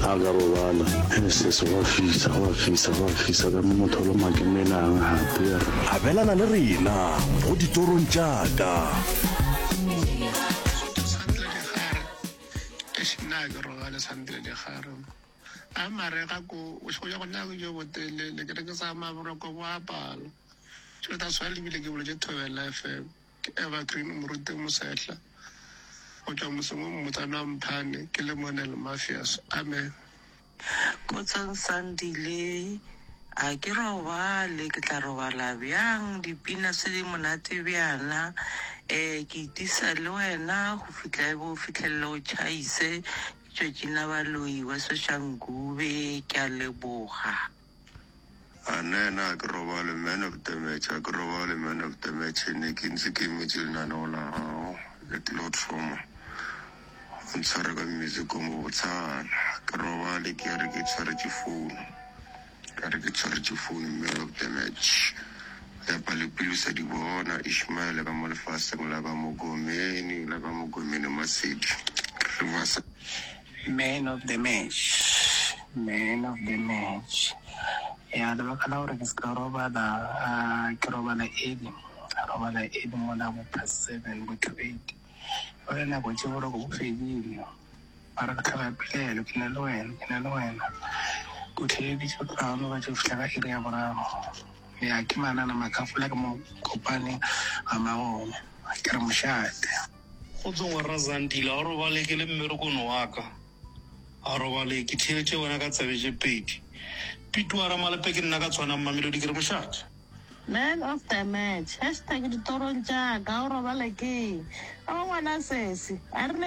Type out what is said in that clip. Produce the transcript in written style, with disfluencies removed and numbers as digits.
A ka robala. He sese go a fisa, go a fisa, go a fisa ka mo motho o loma ke menang gape. Abelana le rena go ditorong tša ka. Sandile Digare, Eish nna ga ke robale Sandile Digare. A marega ko bošego bja go nna jo botelele ke re ke sa maboroko bo a pala. Tšo ta swa lebile ke boletše Thobela FM. Ke Evergreen Moruti Mosehla go tšwa motseng wo mmotsana wa Mphane ke le Monel Mafias. Amen. Khotsong Sandile, A ke robale, ke tla robala bjang? Dipina se di monate bjana. Eh, ke itisa le wena go fihla e bo fihlelele o tšhaise. Ke tšwetše na baloi wa Soshanguve, ke a leboga. A nna a ke robale man of the match a ke robale man of the match ne ke ntse ke emetse lenaneo la gago le platform o ntshware ka music o mobotshana ke robale ke re ke tshwaretše phone ka re ke tshwaretše phone man of the match epa le pelo sa di bona Ishmael ka mo lefaseng la ka Mogomeni la ka Mogomeni Masedi Riverside. Man of the match, man of the match. Ya lebaka la gore ke se ka robala, ah, ke robala early, robala early mola bo past 7 bo to 8. Jwale nako tše boroko bo fedile. Mara ke tlhoka pelaelo, ke na le wena, ke na le wena. Ke o theeleditše go tloga mo ba tšo fihla ka iri ya boraro. Ya ke manana makhafola ke mo kopane ga magongwe. Ke re mošate. Kgotso ngwera Zandile, a o robale ke le mmerekong wa ka. A robale ke theeletše wena ka tsebe tše pedi. Pete wa Ramalepe ke nna ka tshwanang Mamelodi ke re mošate. Man of the match, hashtag ditorong tša ka, o robale ke eng? O ngwana sesi, a rile.